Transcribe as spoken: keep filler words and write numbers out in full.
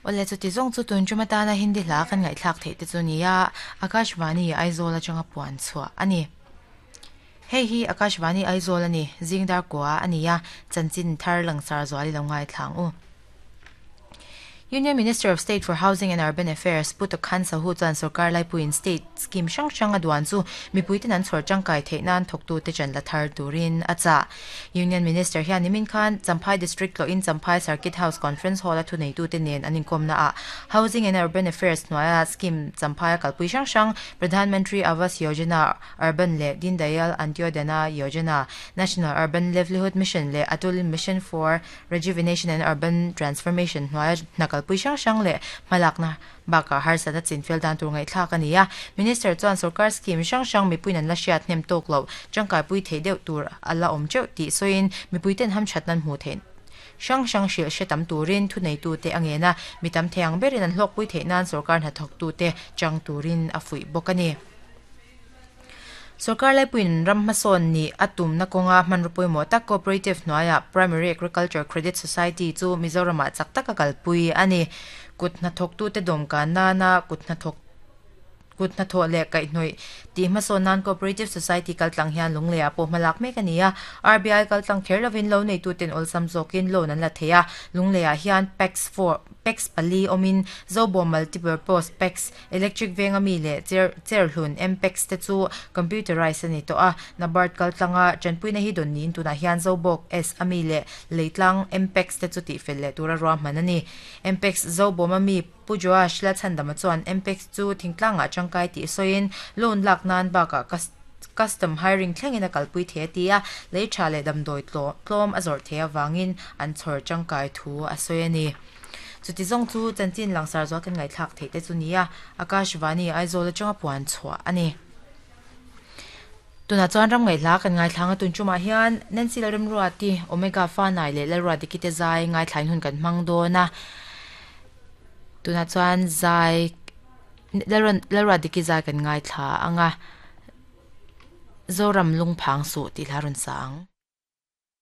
Ole chu ti zawng chu tun chuma tana Hindi hla kan ngaihthlak theih te chu nia Akashvani Aizawl atanga puan chhuah ani. Hei hi Akashvani Aizawl ani zingdar kwa ania chanchin thar langsar zuali lo ngai thlang u. Union Minister of State for Housing and Urban Affairs Puta Khan Sahu chuan sarkar laipuiin state scheme hrang hrang a duan chu mipuiten an chhawr tangkai theih nan thawktu te chan la thar turin a chah. Union Minister hian nimin khan Champhai District lo in Champhai Circuit House Conference Hall a thu neitu te nen an inkawm na a Housing and Urban Affairs hnuaia scheme Champhai a kalpui hrang hrang Pradhan Mantri Awas Yojana Urban le Deen Dayal Antyodaya Yojana National Urban Livelihood Mission le Atul Mission for Rejuvenation and Urban Transformation hnuaia hna kalpui hrang hrang le hmalakna baka harsatna chinfel dan tur ngaihthlak ani a. Minister chuan sarkar scheme hrang hrang mipuiin an la hriat hnem tawk lo tangkai pui thei deuh tur ala awm teuh tih sawiin mipuiten hamthat nan hmuh theih hrang hrang hrilh hre tam turin thu neitu te angena mitam theiang berin an hlawk pui theih nan sarkar hnathawk tu te chang turin a fuih bawk ani. Sarkar laipuiin ram hmasawn ni a tumna kawnga hmanraw pawimawh tak Cooperative hnuaiah Primary Agriculture Credit Society chu Mizoramah chak taka kalpui ani. Kut hnathawk tu te dawmkan nana kut hnathawk kut hnathawh leh kaihhnawih tih hmasawn nan Cooperative Society kaltlang hian lungleiah pawh hmalak mek ani a. R B I kaltlang kher lovin lo neitu ten awlsam zawkin loan an la thei a. Lungleiah hian PACS four PACS pali awmin Zobawm Multipurpose PACS Electric venga mi leh cher cherhlun M PACS te chu computerized ani tawh a. NABARD kaltlanga tanpuina hi dawn niin tunah hian Zobawk S ami leh leitlang M PACS te chu tihfel leh tura ruahman ani. M PACS Zobawm ami Pu Joash la chhandama chuan M PACS chu thingtlangah tangkai tih sawiin loan lak nan bakah custom hiring thlengin a kalpui thei a ti a. Lei tha leh damdawi tlawm a zawrh thei awangin an chhawr tangkai thu a sawi ani. Chuti zawng chu chanchin langsar zual kan ngaihthlak theih te chu nia Akashvani Aizawl atanga puan chhuah ani. Tuna chuan ram ngaihla kan ngaithlang a tun chumah hian Nancy Lalremruati Omega fa nai leh Lalruati kite zai ngaithlain hun kan hmang dawn a. Tuna chuan zai Lalruati ki zai kan ngaithla anga Zoram lungphang su tih hla rawn sang.